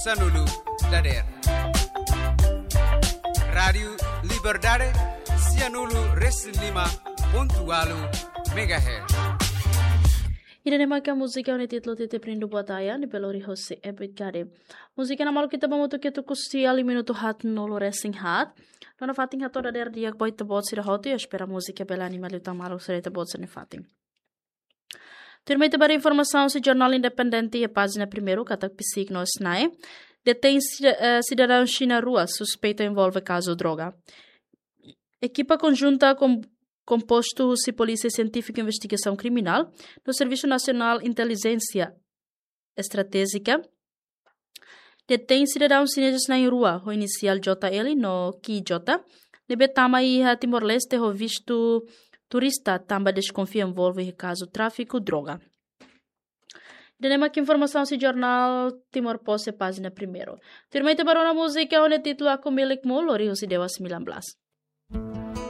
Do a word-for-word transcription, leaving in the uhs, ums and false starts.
Sanulu dader. Rádiu Liberdade, sianulu resin lima pontu ualu megahertz. Ida-ne'e mak múzika ho títulu Titip Rindu Buat Ayah, ne'ebé lori hosi Ebit Gade. Múzika ne'e maluk ita ba hamutuk ketuk husi tiha minutu haat nulu resin haat. No nafatin hato'o dader di'ak ba ita-boot sira hotu, espera múzika bele anima liután maluk sira ita-boot sira-nia fatin. Tuirmai ita ba informasaun husi Jornál Independente iha pájina primeiru katak psíkiku no SNAE detein sida-, eh, sidadaun Xina rua suspeitu envolve kazu droga. Ekipa konjunta kom-, kompostu husi Polísia Sientífika Investigasaun Kriminál no Servisu Nasionál Intelijénsia Estratéjika detein sidadaun xinezes na'in rua ho inisiál J L no Q J, ne'ebé tama iha Timor-Leste ho vistu turista tanba deskonfia envolve iha kazu tráfiku droga. Ida-ne'e mak informasaun husi Jornál Timor Post iha pájina primeiru. Tuirmai ita ba rona múzika ho títulu Aku Milikmu, lori husi Dewa sembilan belas.